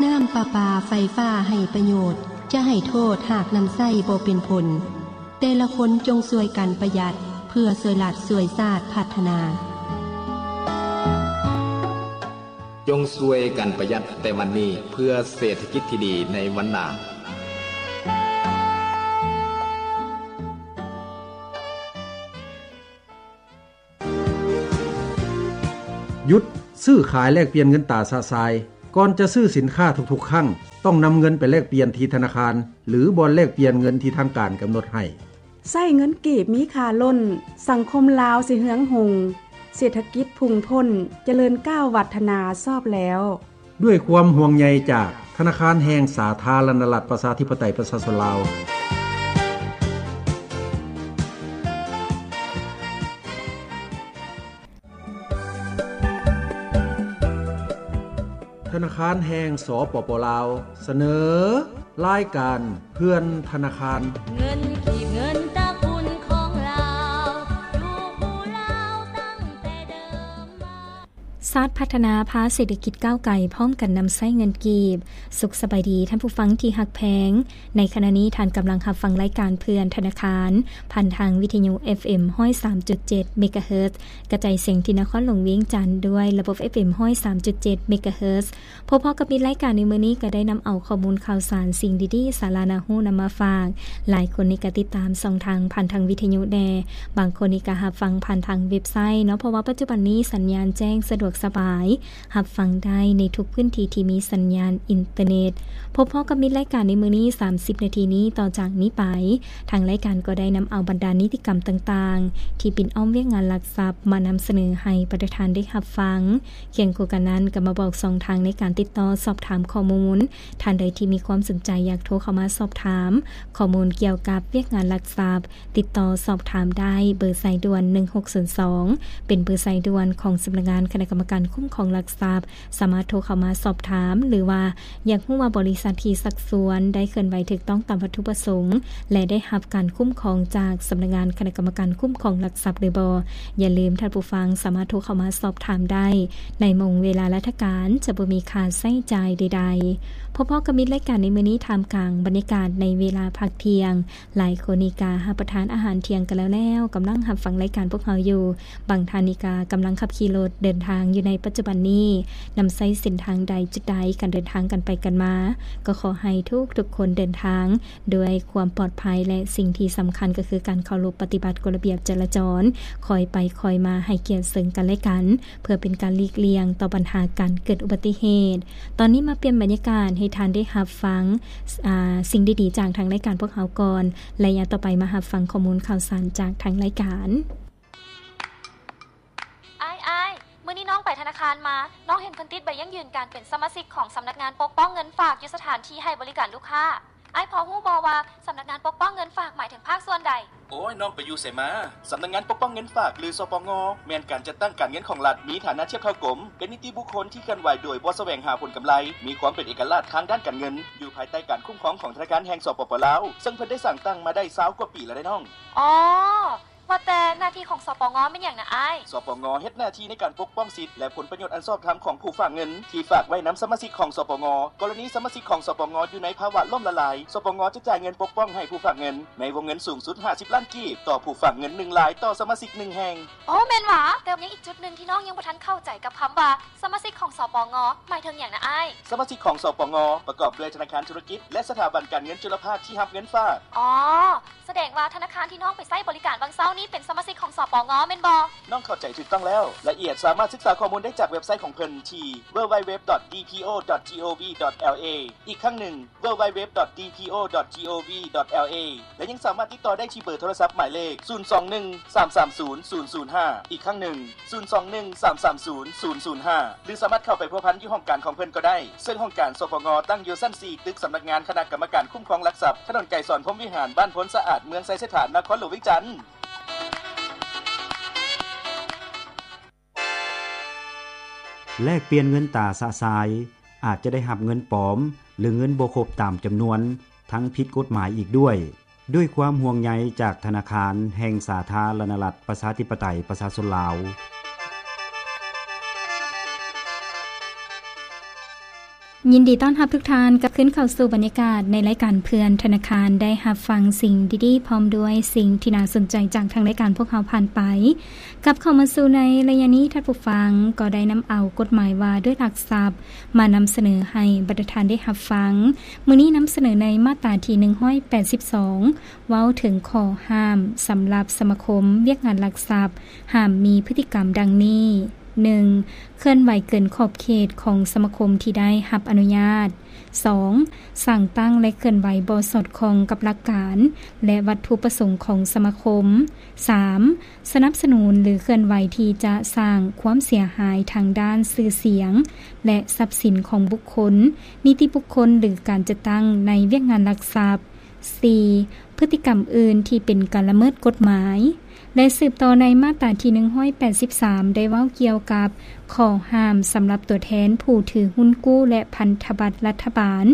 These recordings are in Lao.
ນ້ຳປະປາໄຟຟ້າໄຮ້ປະໂຫຍດ, ຈະໃຫ້ໂທດຫາກນຳໃຊ້ບໍ່ເປັນຜົນ. ແຕ່ລະຄົນຈົ່ງຊ່ວຍກັນປະຢັດ ເພື່ອຊ່ວຍລັດຊ່ວຍຊາດພັດທະນາ. ຈົ່ງຊ່ວຍກັນປະຢັດແຕ່ວັນນີ້ ເພື່ອເສດຖະກິດທີ່ດີໃນວັນໜ້າ. ຢຸດຊື້ຂາຍແລກປ່ຽນເງິນຕາຊະຊາຍ. ກ່ອນຈະຊື້ສິນຄ້າທຸກໆຄັ້ງ, ຕ້ອງນຳເງິນໄປແລກປ່ຽນທີ່ທະນາຄານ ຫຼື ບ່ອນແລກປ່ຽນເງິນທີ່ທາງການກຳນົດໃຫ້. ໃຊ້ເງິນກີບມີຄ່າລົ້ນ, ສັງຄົມລາວຊິເຮືອງຮຸ່ງ, ເສດຖະກິດພຸ່ງພົ້ນ, ຈະເລີນກ້າວວັດທະນາຊອບແລ້ວ. ດ້ວຍຄວາມຫ່ວງໃຍຈາກທະນາຄານແຫ່ງສາທາລະນະລັດ ປະຊາທິປະໄຕ ປະຊາຊົນລາວ. ທະນາຄານແຫ່ງ ສປປ ລາວ ສະເໜີ ລາຍການເພື່ອນທະນາຄານ. ເງິນກີບ ເງິນຕະກຸນຂອງລາວ ຢູ່ຜູ້ລາວຕັ້ງແຕ່ເດີມມາ. ຊາດພັດທະນາພາເສດຖະກິດກ້າວໄກ ພ້ອມກັນນຳໃຊ້ເງິນກີບ. ສຸກສະບາຍດີທ່ານຜູ້ຟັງທີ່ຮັກແພງ. ໃນຂະນະນີ້ທ່ານກຳລັງຮັບຟັງລາຍການເພື່ອນທະນາຄານ ຜ່ານທາງວິທະຍຸ ເອັຟເອັມ ຮ້ອຍສາມຈຸດເຈັດ ເມກາເຮີດ ກະຈາຍສຽງທີ່ນະຄອນຫຼວງວຽງຈັນ ດ້ວຍລະບົບ ເອັຟເອັມ ຮ້ອຍສາມຈຸດເຈັດ ເມກາເຮີດ. ພົບພໍ້ກັບມິດລາຍການໃນມື້ນີ້ ກໍໄດ້ນຳເອົາຂໍ້ມູນຂ່າວສານ ສິ່ງດີໆ ສາລະໜ້າຮູ້ນຳມາຝາກ. ຫຼາຍຄົນນີ້ກໍຕິດຕາມຊ່ອງທາງຜ່ານທາງວິທະຍຸແດ່, ບາງຄົນນີ້ກໍຮັບຟັງຜ່ານທາງເວັບໄຊເນາະ, ເພາະວ່າປັດຈຸບັນນີ້ສັນຍານແຈ້ງສະດວກສະບາຍ. ຮັບຟັງໄດ້ໃນທຸກພື້ນທີ່ທີ່ມີສັນຍານອິນເຕີເນັດ. ພົບພໍ້ກັບມິດລາຍການໃນມື້ນີ້ ສາມສິບນາທີນີ້. ຕໍ່ຈາກນີ້ໄປ, ທາງລາຍການກໍໄດ້ນຳເອົາບັນດານິຕິກຳຕ່າງໆ ທີ່ປິ່ນອ້ອມວຽກງານລັກຊັບ ມານຳສະເໜີໃຫ້ປະຊາຊົນໄດ້ຮັບຟັງ. ຄຽງຄູ່ກັນນັ້ນ, ກໍມາບອກຊ່ອງທາງໃນການຕິດຕໍ່ສອບຖາມຂໍ້ມູນ. ທ່ານໃດທີ່ມີຄວາມສົນໃຈຢາກໂທເຂົ້າມາສອບຖາມຂໍ້ມູນກ່ຽວກັບວຽກງານລັກຊັບ, ຕິດຕໍ່ສອບຖາມໄດ້ເບີສາຍດ່ວນ ໜຶ່ງຫົກສູນສອງ ເປັນເບີສາຍດ່ວນຂອງສຳນັກງານຄະນະກຳມະການຄຸ້ມຄອງລັກຊັບ, ສາມາດໂທເຂົ້າມາສອບຖາມ ຫຼືວ່າຢາກຮູ້ວ່າບໍລິສັດທີ່ຊັກຊວນໄດ້ເຄື່ອນໄຫວຖືກຕ້ອງຕາມວັດຖຸປະສົງ ແລະ ໄດ້ຮັບການຄຸ້ມຄອງຈາກສຳນັກງານຄະນະກຳມະການຄຸ້ມຄອງລັກຊັບຫຼືບໍ່. ຢ່າລືມ, ທ່ານຜູ້ຟັງສາມາດໂທເຂົ້າມາສອບຖາມໄດ້ໃນໂມງເວລາລາຊະການ, ຈະບໍ່ມີຄ່າໃຊ້ຈ່າຍໃດໆ. ພົບພໍ້ກັບມິດລາຍການໃນມື້ນີ້ ທ່າມກາງບັນຍາກາດໃນເວລາພັກທ່ຽງ. ຫຼາຍຄົນນີ້ກະຮັບປະທານອາຫານທ່ຽງກັນແລ້ວໆ, ກຳລັງຮັບຟັງລາຍການພວກເຮົາຢູ່. ບາງທ່ານນີ້ກະກຳລັງຂັບຂີ່ລົດເດີນທາງຢູ່ໃນປັດຈຸບັນນີ້. ນຳໃຊ້ເສັ້ນທາງໃດຈຸດໃດ, ການເດີນທາງກັນໄປກັນມາ, ກໍຂໍໃຫ້ທຸກໆຄົນເດີນທາງດ້ວຍຄວາມປອດໄພ ແລະ ສິ່ງທີ່ສຳຄັນກໍຄືການເຄົາລົບປະຕິບັດກົດລະບຽບຈະລາຈອນ, ຄ່ອຍໄປຄ່ອຍມາ, ໃຫ້ກຽດເຊິ່ງກັນແລະກັນ. ເພື່ອເປັນການຫຼີກລ່ຽງຕໍ່ບັນຫາການເກີດອຸບັດຕິເຫດ. ຕອນນີ້ມາປ່ຽນບັນຍາກາດໃຫ້ທ່ານໄດ້ຮັບຟັງ, ອາ, ສິ່ງດີໆຈາກທາງລາຍການພວກເຮົາກ່ອນ. ໄລຍະຕໍ່ໄປມາຮັບຟັງຂໍ້ມູນຂ່າວສານຈາກທາງລາຍການ. ອ້າຍ, ອ້າຍ, ມື້ນີ້ນ້ອງໄປທະນາຄານມາ, ນ້ອງເຫັນເພິ່ນຕິດໃບຢັ້ງຢືນການເປັນສະມາຊິກຂອງສຳນັກງານປົກປ້ອງເງິນຝາກຢູ່ສະຖານທີ່ໃຫ້ບໍລິການລູກຄ້າ. ອ້າຍພໍຮູ້ບໍ່ວ່າສຳນັກງານປົກປ້ອງເງິນຝາກໝາຍເຖິງພາກສ່ວນໃດ? ໂອ້ຍ, ນ້ອງໄປຢູ່ໃສມາ? ສຳນັກງານປົກປ້ອງເງິນຝາກ ຫຼື ສປງ ແມ່ນການຈັດຕັ້ງການເງິນຂອງລັດ, ມີຖານະທຽບເທົ່າກົມ, ເປັນນິຕິບຸກຄົນທີ່ເຄື່ອນໄຫວໂດຍບໍ່ສະແຫວງຫາຜົນກຳໄລ, ມີຄວາມເປັນເອກະລາດທາງດ້ານການເງິນ, ຢູ່ພາຍໃຕ້ການຄຸ້ມຄອງຂອງທະນາຄານແຫ່ງ ສປປ ລາວ, ເຊິ່ງເພິ່ນໄດ້ສ້າງຕັ້ງມາໄດ້ຊາວກວ່າປີແລ້ວເດ້ນ້ອງ. ອໍ ວ່າແຕ່ໜ້າທີ່ຂອງ ສປງ ແມ່ນຫຍັງນະອ້າຍ? ສປງ ເຮັດໜ້າທີ່ໃນການປົກປ້ອງສິດ ແລະ ຜົນປະໂຫຍດອັນຊອບທຳຂອງຜູ້ຝາກເງິນທີ່ຝາກໄວ້ນຳສະມາຊິກຂອງ ສປງ. ກໍລະນີສະມາຊິກຂອງ ສປງ ຢູ່ໃນພາວະລົ້ມລະລາຍ, ສປງ ຈະຈ່າຍເງິນປົກປ້ອງໃຫ້ຜູ້ຝາກເງິນໃນວົງເງິນສູງສຸດຫ້າສິບລ້ານກີບຕໍ່ຜູ້ຝາກເງິນໜຶ່ງລາຍຕໍ່ສະມາຊິກໜຶ່ງແຫ່ງ. ໂອ້ ແມ່ນຫວາ? ແຕ່ຍັງອີກຈຸດໜຶ່ງທີ່ນ້ອງຍັງບໍ່ທັນເຂົ້າໃຈກັບຄຳວ່າສະມາຊິກຂອງ ສປງ ໝາຍເຖິງຫຍັງນະອ້າຍ? ສະມາຊິກຂອງ ສປງ ປະກອບດ້ວຍທະນາຄານທຸລະກິດ ແລະ ສະຖາບັນການເງິນຈຸລະພາກທີ່ຮັບເງິນຝາກ. ອໍ ສະແດງວ່າທະນາຄານທີ່ນ້ອງໄປໃຊ້ບໍລິການຫວ່າງເຊົ້ານີ້ເປັນສະມາຊິກຂອງ ສປງ ແມ່ນບໍ່? ນ້ອງເຂົ້າໃຈຖືກຕ້ອງແລ້ວ. ລາຍລະອຽດສາມາດສຶກສາຂໍ້ມູນໄດ້ຈາກເວັບໄຊຂອງເພິ່ນທີ່ www.dpo.gov.la. ອີກຄັ້ງໜຶ່ງ www.dpo.gov.la ແລະ ຍັງສາມາດຕິດຕໍ່ໄດ້ທີ່ເບີໂທລະສັບໝາຍເລກ ສູນສອງໜຶ່ງ ສາມສາມສູນ ສູນສູນຫ້າ. ອີກຄັ້ງໜຶ່ງ ສູນສອງໜຶ່ງ ສາມສາມສູນ ສູນສູນຫ້າ ຫຼື ສາມາດເຂົ້າໄປພົວພັນຢູ່ຫ້ອງການຂອງເພິ່ນກໍໄດ້, ເຊິ່ງຫ້ອງການ ສປງ ຕັ້ງຢູ່ຊັ້ນສີ່ ຕຶກສຳນັກງານຄະນະກຳມະການຄຸ້ມຄອງຫຼັກຊັບ, ຖະໜົນໄກສອນ ພົມວິຫານ, ບ້ານໂພນສະອາດ, ເມືອງໄຊເສດຖາ, ນະຄອນຫຼວງວຽງຈັນ. ແລກປ່ຽນເງິນຕາຊະຊາຍ, ອາດຈະໄດ້ຮັບເງິນປອມ ຫຼື ເງິນບໍ່ຄົບຕາມຈຳນວນ, ທັງຜິດກົດໝາຍອີກດ້ວຍ. ດ້ວຍຄວາມຫ່ວງໃຍຈາກທະນາຄານແຫ່ງສາທາລະນະລັດ ປະຊາທິປະໄຕ ປະຊາຊົນລາວ. ຍິນດີຕ້ອນຮັບທຸກທ່ານກັບຄືນເຂົ້າສູ່ບັນຍາກາດໃນລາຍການເພື່ອນທະນາຄານ ໄດ້ຮັບຟັງສິ່ງດີໆ ພ້ອມດ້ວຍສິ່ງທີ່ໜ້າສົນໃຈຈາກທາງລາຍການພວກເຮົາຜ່ານໄປ. ກັບເຂົ້າມາສູ່ໃນໄລຍະນີ້, ທ່ານຜູ້ຟັງກໍໄດ້ນຳເອົາກົດໝາຍວ່າດ້ວຍຫຼັກຊັບ ມານຳສະເໜີໃຫ້ບັນດາທ່ານໄດ້ຮັບຟັງ. ມື້ນີ້ນຳສະເໜີໃນມາດຕາທີໜຶ່ງຮ້ອຍແປດສິບສອງ ເວົ້າເຖິງຂໍ້ຫ້າມສຳລັບສະມາຄົມວຽກງານຫຼັກຊັບ ຫ້າມມີພຶດຕິກຳດັ່ງນີ້: ໜຶ່ງ ເຄື່ອນໄຫວເກີນຂອບເຂດຂອງສະມາຄົມທີ່ໄດ້ຮັບອະນຸຍາດ. ສອງ ສ້າງຕັ້ງ ແລະ ເຄື່ອນໄຫວບໍ່ສອດຄ່ອງກັບຫຼັກການ ແລະ ວັດຖຸປະສົງຂອງສະມາຄົມ. ສາມ ສະໜັບສະໜູນ ຫຼື ເຄື່ອນໄຫວທີ່ຈະສ້າງຄວາມເສຍຫາຍທາງດ້ານຊື່ສຽງ ແລະ ຊັບສິນຂອງບຸກຄົນ, ນິຕິບຸກຄົນ ຫຼື ການຈັດຕັ້ງໃນວຽກງານຫຼັກຊັບ. ສີ່ ພຶດຕິກຳອື່ນທີ່ເປັນການລະເມີດກົດໝາຍ. ແລະ ສືບຕໍ່ໃນມາດຕາທີໜຶ່ງຮ້ອຍແປດສິບສາມ ໄດ້ເວົ້າກ່ຽວກັບຂໍ້ຫ້າມສຳລັບຕົວແທນຜູ້ຖືຮຸ້ນກູ້ ແລະ ພັນທະບັດລັດຖະບານ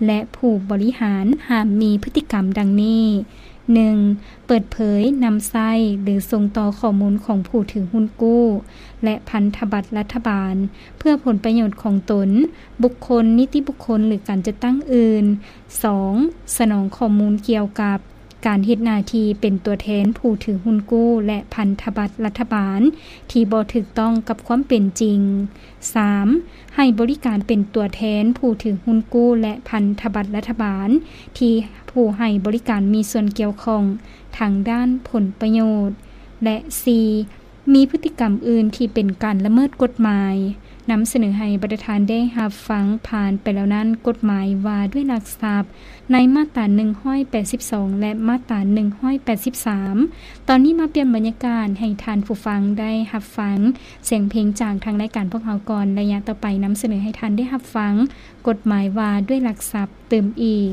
ແລະ ຜູ້ບໍລິຫານ ຫ້າມມີພຶດຕິກຳດັ່ງນີ້: ໜຶ່ງ ເປີດເຜີຍ, ນຳໃຊ້ ຫຼື ສົ່ງຕໍ່ຂໍ້ມູນຂອງຜູ້ຖືຮຸ້ນກູ້ ແລະ ພັນທະບັດລັດຖະບານ ເພື່ອຜົນປະໂຫຍດຂອງຕົນ, ບຸກຄົນ, ນິຕິບຸກຄົນ ຫຼື ການຈັດຕັ້ງອື່ນ. ສອງ ສະໜອງຂໍ້ມູນກ່ຽວກັບການເຮັດໜ້າທີ່ເປັນຕົວແທນຜູ້ຖືຮຸ້ນກູ້ ແລະ ພັນທະບັດລັດຖະບານ ທີ່ບໍ່ຖືກຕ້ອງກັບຄວາມເປັນຈິງ. ສາມ ໃຫ້ບໍລິການເປັນຕົວແທນຜູ້ຖືຮຸ້ນກູ້ ແລະ ພັນທະບັດລັດຖະບານ ທີ່ຜູ້ໃຫ້ບໍລິການມີສ່ວນກ່ຽວຂ້ອງທາງດ້ານຜົນປະໂຫຍດ. ແລະ ສີ່ ມີພຶດຕິກຳອື່ນທີ່ເປັນການລະເມີດກົດໝາຍ. ນຳສະເໜີໃຫ້ບັນດາທ່ານໄດ້ຮັບຟັງຜ່ານໄປແລ້ວນັ້ນ ກົດໝາຍວ່າດ້ວຍຫຼັກຊັບ ໃນມາດຕາໜຶ່ງຮ້ອຍແປດສິບສອງ ແລະ ມາດຕາໜຶ່ງຮ້ອຍແປດສິບສາມ. ຕອນນີ້ມາປ່ຽນບັນຍາກາດໃຫ້ທ່ານຜູ້ຟັງໄດ້ຮັບຟັງສຽງເພງຈາກທາງລາຍການພວກເຮົາກ່ອນ. ໄລຍະຕໍ່ໄປນຳສະເໜີໃຫ້ທ່ານໄດ້ຮັບຟັງກົດໝາຍວ່າດ້ວຍຫຼັກຊັບຕື່ມອີກ.